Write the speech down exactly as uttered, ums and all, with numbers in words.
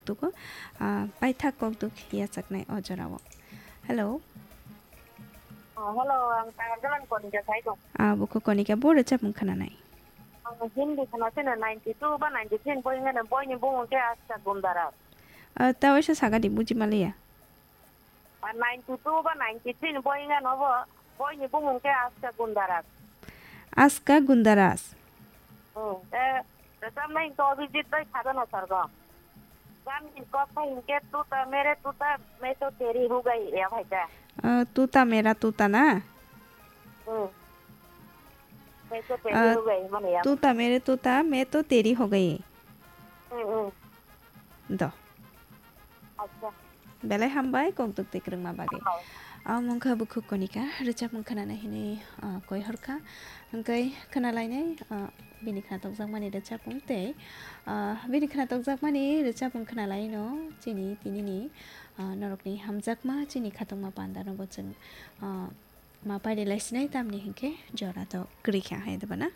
kokduk o, ah, paithak kokduk yachaknai o jorao. Hello. Ah, hello, ang Tangajalan Konika sai tong. Ah, buku Konika bo rwchapmung khwnanai. Ang Hindi khwna sino ninety two ba ninety three ni boi wngkha, boini bumung khe Aska Gundara. Ah, ta waisa sagadi buji maliya. Ah, ninety two ba ninety three ni boi wngkha no bo, boini bumung khe Aska Gundaras. Aska Gundaras. Hmm, eh, rwchapnai hwnkhe Abhijit bai Sadhana Sargam. Gan ni kok khai hwnkhe Tuta mere tuta, main to teri ho gayi, ya bhai ta. Ah, Tuta mera tuta na? Hmm. Main to teri Ah, ho gayi, mane ya. Tuta mere tuta, main to teri ho gayi. Hmm, hmm. Do. Acha. Belai hambai, kokduk twi kwrwngma bagwi. Oh. Ang wngkha bukhuk Konika, rwchapmung khwnana hinwi, ah, koi horkha. Hwnkhe khwnalainai, ah, bini khna tokjakmani rwchapmung tei, ah, bini khna tokjakmani rwchapmung khwnalaino chini tinini, ah, norokni hamjakma chini khatungma pandano bo chwng, ah, ma paililai sinai tamni hinkhe jora to kwrwi kha hai debana.